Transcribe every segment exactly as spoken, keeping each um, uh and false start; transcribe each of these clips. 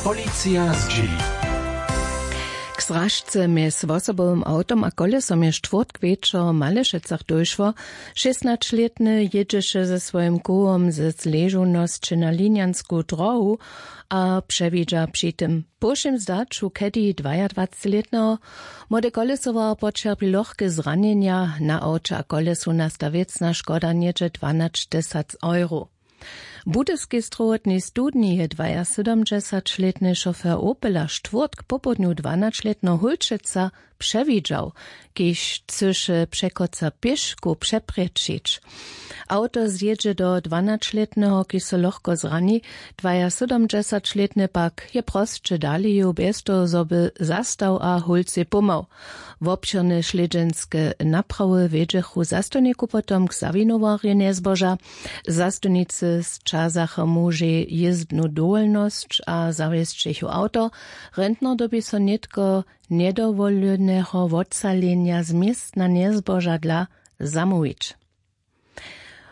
Policija zdźěli. K zražce mjez wosobowym awtom a kolesom je štwórtk wječor w Malešecach dóšło. Šěsnaćlětny jědźeše ze swojim kołom ze zležownosće na linjansku drohu a přewidźa při tym po wšěm zdaću kedi dwajadwacećlětneho. Młode kolesowar poćerpi lochke zranjenja. Na awće a kolesu nasta wěcna škoda něhdźe dwanaćtysac euro. W budyskej strowotnej studni je dwajasydomdźesaćlětny šofer opela štwórtk popołdnju dwanaćlětneho hólčeca přewidźał, kiž chcyše překoca pěškow přeprječić. Awto zjědźe do dwanaćlětneho, kiž so lochko zrani. Dwajasydomdźesaćlětny pak je prosće dale jěł bjez toho zo by zastał a hólcej pomhał. Wobšěrne slědźenske naprawy wjedźechu zastawniku potom k zawinowarjej njezboža. Zastawnicy sćazacha mužej jězdnu dowolnosć a zawjesćechu awto. Rentner dyrbi so nětko njedowoleneho wotsalenja z městna njezboža dla zamołwić.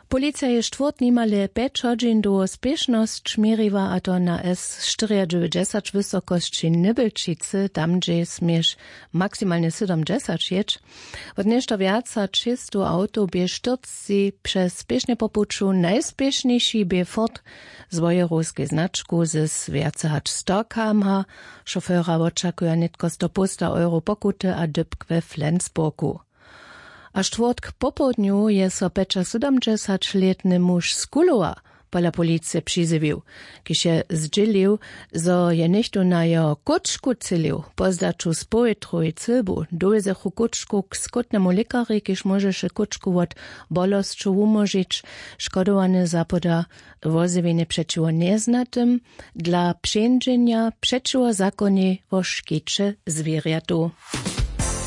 Policija je štwórtk nimale pjeć hodźin dołho spěšnosć měriła, a to na s štyriadźewjećdźesać wysokosći nybelčicy, tam hdźež směš maksimalnje sydomdźesać jěć. Wot něšto wjac hač šěsćstow awtow bě štyrcci přez spěšnje po puću. Najspěšnjejši bě ford z wojerowskej značku z wjace hač sto km h. Šofera wočakuja nětko sto połsta euro pokuty a dypk we flensburgu. A štwórtk popołdnju je so pjećasydomdźesaćlětny muž z kulowa pola policije přizjewił, kiž je zdźělił, zo je něchtó na jeho kóčku třělił. Po zdaću z powětrowej cylbu dowjezechu kóčku k skótnemu lěkarjej, kiž móžeše kóčku wot bolosćow wumóžić. Škodowany zapoda wozjewjenje přećiwo njeznatym dla přeńdźenja přećiwo zakonjej wo škiće zwěrjatow.